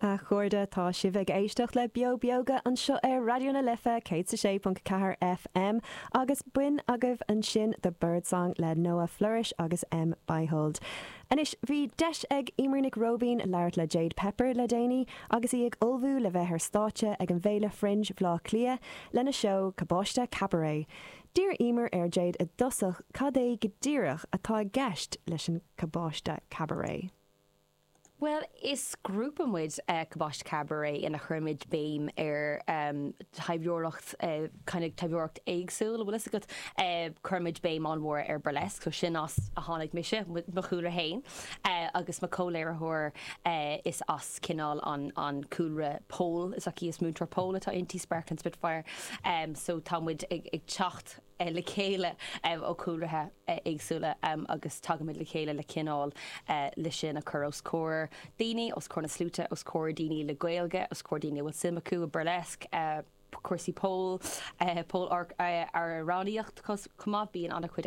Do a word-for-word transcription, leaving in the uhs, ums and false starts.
A chairde tá sibh ag éisteacht le Beo Beoga anseo ar Raidió na Life céad sé ponc ceathair FM agus b'in agaibh ansin The Birdsong le Noah Flourish agus M Beihold. Anois bhí deis ag Eimear Nic Róibín labhairt le Jade Pepper le déanaí agus í ag ullmhú le bheith ar stáitse ag an bhFéile Fringe Bhaile Átha Cliath lena seó Cabáiste Cabaret. D'iarr Eimear ar Jade i dtosach cad é go díreach atá i gceist leis an Cabáiste Cabaret. Well, is grúpa muid uh, Cabáiste Cabaret ina chuirimid béim ar um, taibheoireacht uh, kind of taibheoireacht éagsúil bhfuil fhios agat uh, cuirimid béim an-mhór ar burlesque, so sin as a tháinig mise mo chúlra féin uh, agus mo chomh-léiritheoir uh, is as cineál an, an cúlra pole is aici is múinteoir pole atá inti Sparkling Spitfire um, so tá muid ag, ag teacht uh, le chéile um, ó chúlraí uh, éagsúla um, agus tagaimid le chéile le cineál uh, le sin a chur os comhair daoine os comhair na sluaite os comhair daoine le Gaeilge os comhair daoine bhfuil suim acu i burlesque uh, cúrsaí pole uh, pole amhránaíocht chomh maith bíonn an-chuid